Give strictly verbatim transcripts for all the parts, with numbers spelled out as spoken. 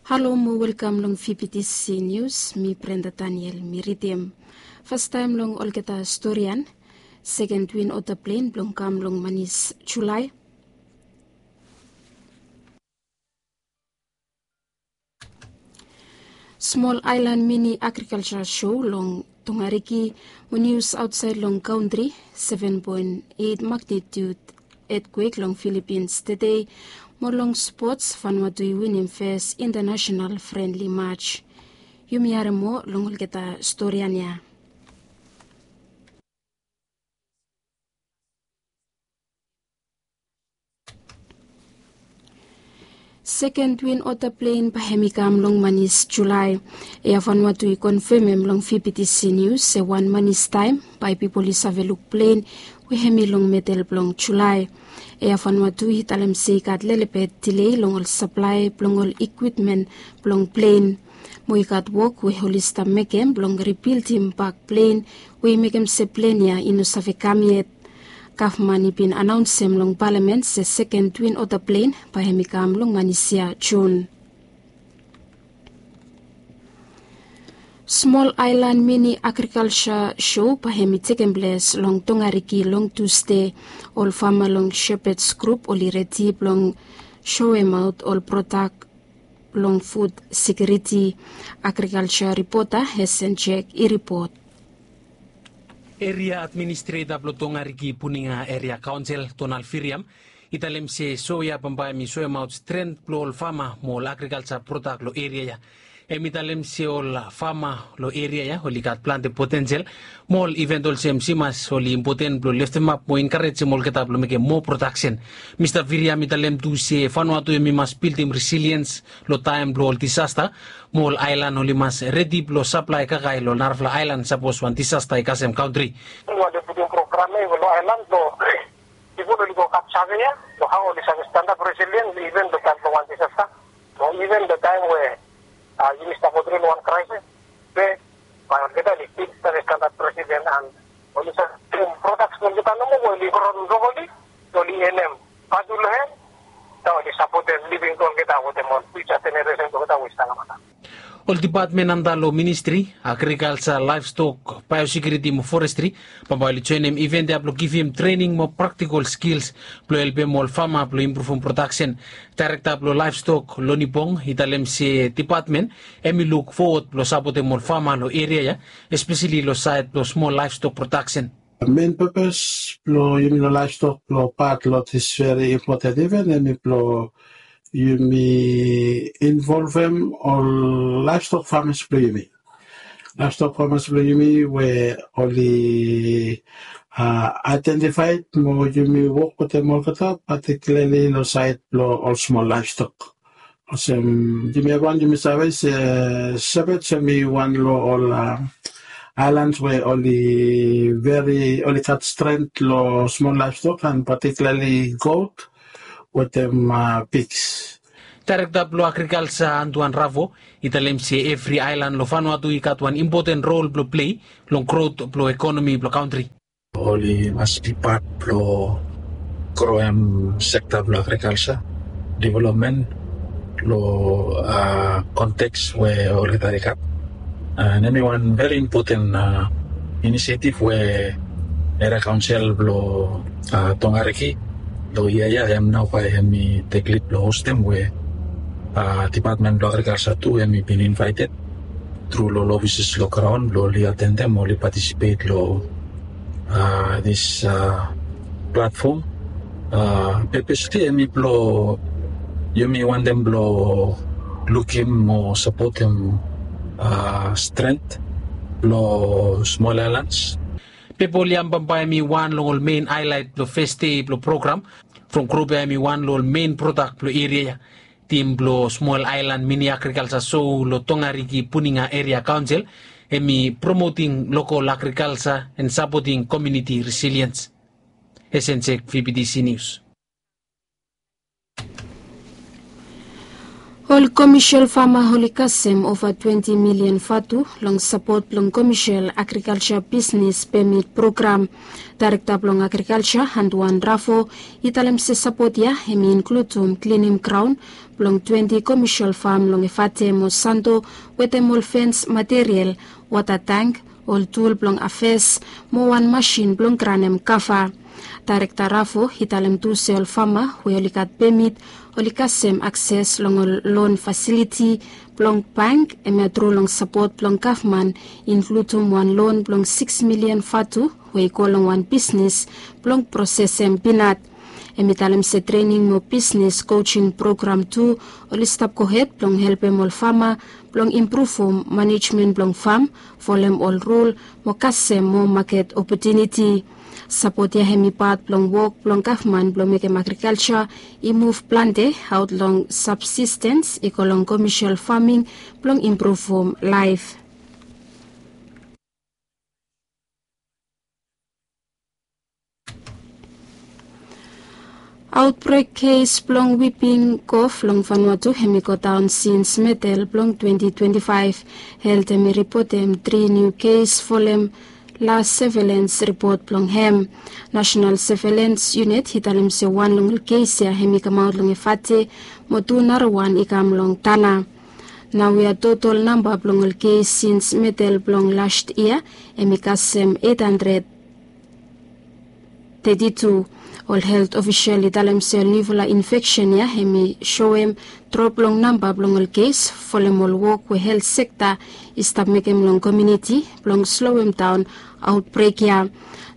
Halo mo welkam long V B T C News, mi Brenda Daniel mi ridim. Fastaem long olgeta storian, seken twin oter plen blong kam long manis Julae. Smol aelan mini agrikalsa sho long Tongariki mo nius aotsaed long kantri, seven point eight magnitude etkwek long Filipins tede, mo long spots Vanuatu i winim fes international frenli mats. Yumi harem moa long olgeta storian ya. Seken twin oter plen bae hem i kam long manis Julae. Ea Vanuatu i konfemem long V B T C Nius se wan manis taem bae pipol i save luk plen we hem i long medel blong Julae. Ea Vanuatu i talem se i gat lelebet dilei long ol saplae blong ol ikwipmen blong plen. Mo i gat wok we oli stap mekem blong ribildim bak plen we i mekem se plen ya i no save kam yet. Gavman i bin anaonsem long palamen se seken twin oter plen bae hem i kam long manis ya Jun. Smol aelan mini agrikalsa sho bae hem i tekem ples long Tongariki long Tusde. Ol fama long Shepherds Group oli redi blong soemaot ol prodak long fud sekiriti. Agrikalsa ripota Hesen Jek i ripot. Eria administreta blong Tongariki Puninga Eria Kaonsel Donald Firiam i talem se so ya bambae hem i soemaot stren blong ol fama mo ol agrikalsa prodak long eria ya. Hem i talem se ol fama long eria ya oli gat plante potensel mo ol iven olsem simas oli impoten blong leftemap mo enkarejem olgeta blong mekem moa prodaksen. Mista Firiam i talem tu se Vanuatu hem i mas bildim resiliens long taem blong ol disasta mo ol aelan oli mas redi blong saplae kakae long narafala aelan sapos wan disasta i kasem kantri. Oli putum program ya long aelan blong pipol oli go gat save ya long hao oli save stanap resilien iven long taem blong wan disasta. Mo iven long taem we yumi stap go tru long wan kraesis, be bae olgeta oli stil save stanap resilien an oli save prodaks blong olgeta nomo we oli gro long rokoli oli enem vatu long hem. Oli sapotem living blong olgeta wetem ol fiuja jeneresen blong olgeta we i stap long mata. Ol dipatmen anda long ministri agrikalsa, laevstok, baeosekiuriti mo forestri bambae oli joenem iven ya blong givim trening mo praktikol skils blong helpem ol fama blong impruvum prodaksen. Daerekta blong laevstok Loni Bong i talem se dipatmen hem i luk fowod blong sapotem ol fama long eria ya, espeseli long saed blong smol laevstok prodaksen. Men pepes blong yumi long laevstok blong pat long dis veri impoten iven hem i blong yumi involvem ol laevstok famas blong yumi. Laevstok famas blong yumi we oli aedentifaed mo yumi wok wetem olgeta patikilarli long saed blong ol smol laevstok. Olsem yumi evriwan yumi save se Shepherds hem i wan long ol aelans we oli veri oli gat stren long smol laevstok an patikilarli got wetem pigs. Daerekta blong agrikalsa Antuan Ravo i talem se evri aelan long Vanuatu i gat wan impoten rol blong plei long grot blong ekonomi blong kantri. Oli mas bi pat blong groem sekta blong agrikalsa developmen long konteks we olgeta i gat. An hem i wan veri impoten inisiativ we eria kaonsel blong Tongariki long yia ya hem nao bae hem i tek lid blong hostem we dipatmen blong agrikalsa tu hem i bin invaeted tru long ol ofises long graon blong oli atendem oli patisipet long dis platfom. Pepes tu hem i blong yumi wantem blong lukim mo sapotem stren blong smol aelans. Pepa oli ambam bae hem i wan long ol men aelaet blong fes dei blong program. From grup ya hem i wan long ol men prodak blong eria ya. Tim blong smol aelan mini agrikalsa sou long Tongariki Puninga Eria Kaonsel hem i promoting lokol agrikalsa an sapoting komuniti resiliens. Hesen Jek, V B T C Nius. Ol komesel fama oli kasem ova twenti milian vatu long sapot blong komesel agrikalsa bisnes pemit program. Daerekta blong agrikalsa Anduan Rafo i talem se sapot ya hem i inkludum klinim graon blong twenti komesel fam long Efate mo Santo, wetem ol fens material, wata tank, ol tul blong afes, mo wan masin blong granem kava. Daerekta Rafo i talem tu se ol fama we oli gat pemit oli kasem akses long ol lon fasiliti blong bank, hemia tru long sapot blong gavman, inkludum wan lon blong sikis milian vatu we i go long wan bisnes blong prosesem pinat. Hem i talem se trening mo bisnes kojing program tu oli stap gohed blong helpem ol fama blong impruvum manejmen blong fam, folem ol rul, mo kasem moa maket opotuniti. Sapot ya hem i pat blong wok blong gavman blong mekem agrikalsa i muv plante aot long sabsistens i go long komesel faming blong impruvum laef. Aotbrek kes blong wiping kof long Vanuatu hem i godaon sins medel blong twenti twenti faef. Helt hem i ripotem tri niu kes folem las sevelens ripot blong hem. Nasenal sevelens yunit i talem se wan long ol kes ya hem i kamaot long Efate, mo tu narawan i kam long Tanna. Naoia totol namba blong ol kes sins medel blong las yia hem i kasem eit handred teti tu. Ol helt ofisel i talem se ol niufala infeksen ya hem i soem drop long namba blong ol kes folem ol wok we helt sekta i stap mekem long komuniti blong sloem daon aotbrek ya.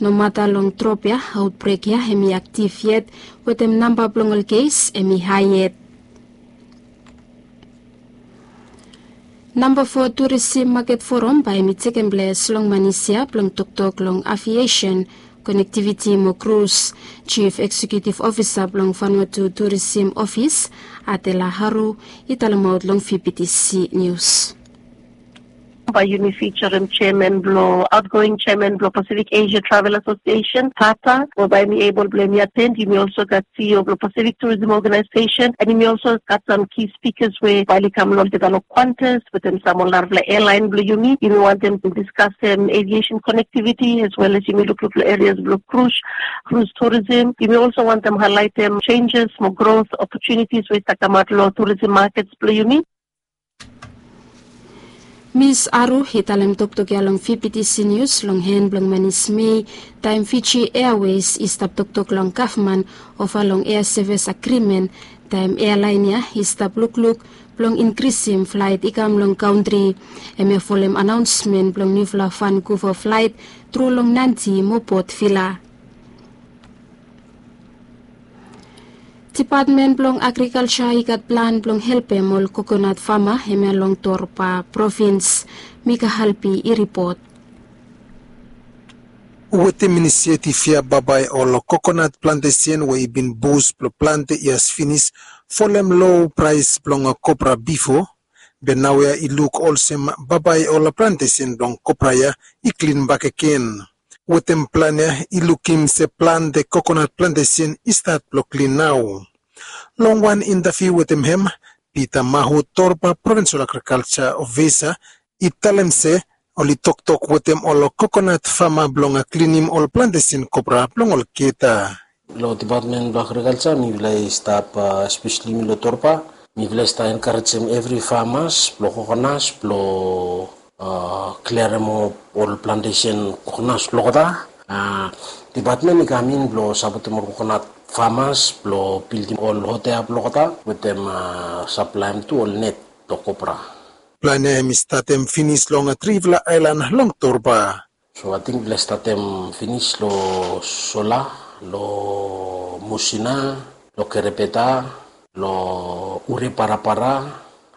Nomata long drop ya, aotbrek ya hem i aktiv yet, wetem namba blong ol kes hem i hae yet. Namba fo turisim maket foram bae hem i tekem ples long manis ya blong toktok long aviesen, konektiviti mo krus. Jif Eksekiutiv Ofisa blong Vanuatu Turisim Ofis, Adela Haru, i talemaot long VBTC Nius. Bae yumi fijarem jeaman blong aotgoing jeaman blong Pasifik Esia Travel Asosiesen, PATA, we bae hem i ebol blong hem i aten. Yumi olso gat CEO blong Pasifik Turism Ogenaesesen, and yumi olso gat sam ki spikas we bae oli kam long olgeta long Qantas wetem sam ol narafala ealaen blong yumi. Yumi wantem diskasem aviesen konektiviti as well as yumi lukluk long erias blong krus, krus turisim. Yumi olso wantem haelaetem jenjes mo grot opotunitis we i stap kamaot long turisim makets blong yumi. Mis Aru i talem toktok ya long VBTC Nius long hen blong manis Mei, taem Fiji Airways i stap toktok long gavman ova long ea sevis agrimen, taem ealaen ya i stap lukluk blong inkrisim flaet i kam long kantri. Hemia folem anaonsmen blong niufala Vankuva flaet tru long Nadi mo Port Vila. Dipatmen blong Agrikalsa i gat plan blong helpem ol kokonat fama hemia long Torba provins. Mika Halpi i ripot. Wetem inisiativ ya bambae ol kokonat plantesen we i bin bus blong plante yias finis folem lo praes blong kopra bifo, be naoia i luk olsem bambae ol plantesen blong kopra ya i klin bakegen. Wetem plan ya i lukim se plante kokonat plantesen i stat blong klin nao. Long wan intaviu wetem hem, Pita Mahu, Torba Provinsol Agrikalsa Ofisa, i talem se oli toktok wetem ol kokonat fama blong klinim ol plantesen kopra blong olgeta. Long dipatmen blong agrikalsa mifala i stap, espeseli yumi long Torba, mifala i stap enkarejem evri famas blong kokonas blong kliarem ol plantesen kokonas blong olgeta. Dipatmen i kam in blong sapotem ol kokonat famas blong bildim ol hotea blong olgeta wetem saplaem tu ol net blong kopra. Plan ya hem i statem finis long trifala aelan long Torba. So ating mifala i statem finis long Sola, long Musina, long Kerebeta, long Ureparapara,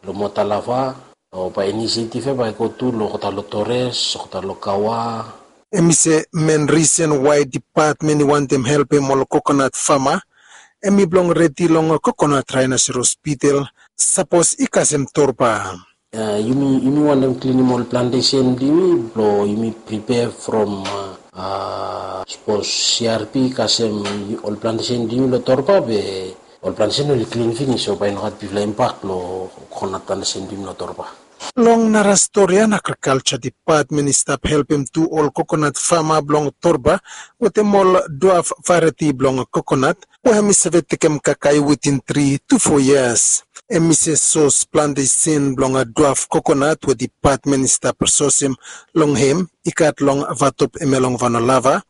long Motalava, long bae inisiativ ya bae i go tu long olgeta long Tores, olgeta long Kawa. Hem i se men risen wae dipatmen i wantem helpem ol kokonat fama hem i blong redi long kokonat raenoseros bitel sapos i kasem Torba. Yumi, yumi wantem klinim ol plantesen blong yumi blong yumi pripea from sapos CRP i kasem ol plantesen blong yumi long Torba be Ol planti sen oli klin finis, so bae i no gat bigfala impak long kokonat anda semting long Torba. Long nara stori ya, na agrikalja dipatmen i stap helpem tu ol kokonat fama blong Torba wetem ol duaf varieti blong kokonat we hem i save tekem kakae witin tri tu fo yias. Hem i se sos plante sin blong duaf kokonat we dipatmen i stap sosem long hem i gat long Vatop hemia long Vanua Lava,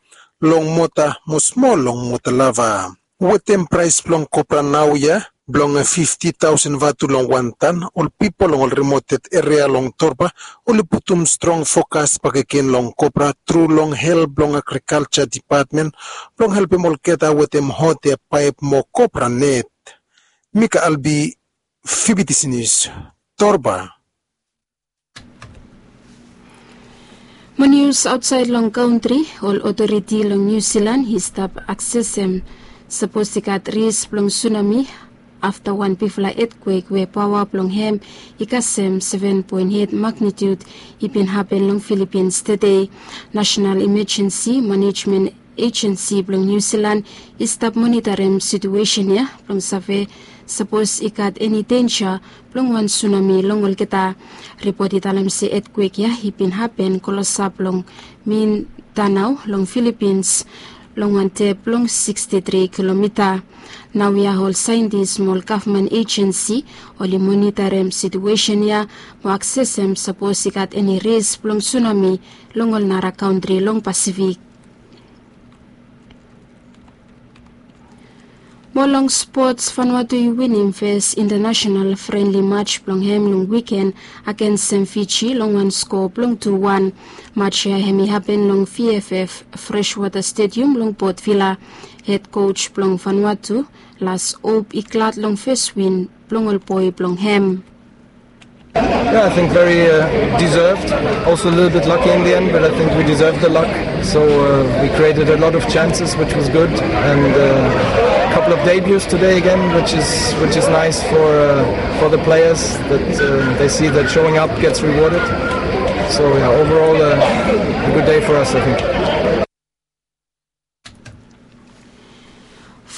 long Mota mo smol long Mota Lava. Wetem praes blong kopra naoia blong fifti taosen vatu long wan tan, ol pipol long ol rimoted eria long Torba oli putum strong fokas bakegen long kopra tru long help blong agrikalja dipatmen blong helpem olgeta wetem hot eapaep mo kopra net. Mika Albi, Fibitisi Nius, Torba. Mo nius aotsaed long kantri, ol otoriti long Niu Silan i stap aksesem sapos i gat ris blong sunami afta wan bigfala etkwek we paoa blong hem i kasem seven poen eit magnitiud i bin hapen long Filipins tede. Nasenal Imajensi Manejmen Ejensi blong Niu Silan i stap monitarem situesen ya blong save sapos i gat eni denja blong wan sunami long olgeta. Ripot i talem se etkwek ya i bin hapen klosap long Mindanao long Filipins long wan dep blong siksti tri kilomita. Naoia ol saentis mo ol gavman ejensi oli monitarem situesen ya mo aksesem sapos i gat eni ris blong sunami long ol nara kantri long Pasifik. Mo long spots, Vanuatu i winim fes intanasenal frenli maj blong hem long wiken agensem Fiji long wan skoa blong tu wan. Maj ya hem i hapen long V F F Freshwater Stadium long Port Vila. Hed koj blong Vanuatu, Lars Op, i glad long fes win blong ol boe blong hem. Yeah, I think very uh, deserved. Also a little bit lucky in the end, but I think we deserved the luck. So uh, we created a lot of chances, which was good, and uh, a couple of debuts today again, which is which is nice for uh, for the players that uh, they see that showing up gets rewarded. So yeah, overall uh, a good day for us, I think.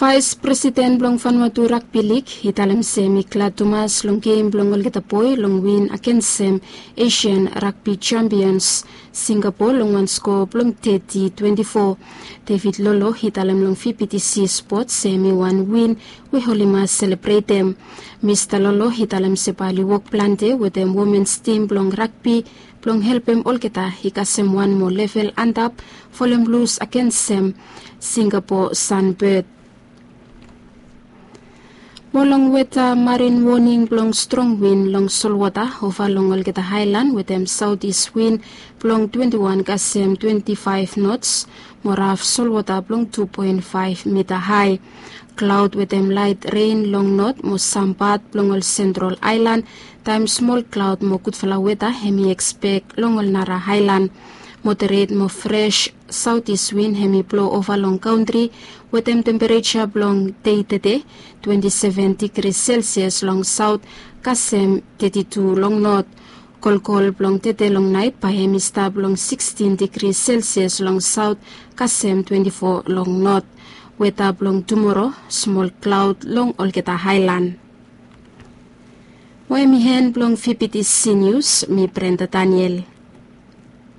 Vaes Presiden blong Vanuatu Ragbi Lig i talem se hem i glad tumas long gem blong olgeta boe long win agensem Asian Ragbi Champions Singapore long wan skoa blong teti twenti fo. David Lolo i talem long V B T C Sports se hem i wan win we oli mas selebretem. Mista Lolo i talem se bae oli wok plante wetem womens tim blong ragbi blong helpem olgeta i kasem wan moa level antap folem lus agensem Singapore Sunbird. Mo long weta, marin woning blong strong win long solwota ova long olgeta aelan wetem saotis win blong twenti wan kasem twenti faef nots mo raf solwota blong tu poen faef mita hae. Klaod wetem laet ren long not mo sam pat blong ol sentral aelan taem smol klaod mo gudfala weta hem i ekspek long ol nara aelan. Moderet mo fres saotis win hem i blo ova long kantri wetem tempereja blong dei tede twenti seven digri Celsius long saot kasem teti tu long not. Kolkol blong tede long naet bae hem i stap long sikstin digri Celsius long saot kasem twenti fo long not. Weta blong tumoro, smol klaod long olgeta aelan. Mo hem i en blong V B T C Nius, mi Brenda Daniel.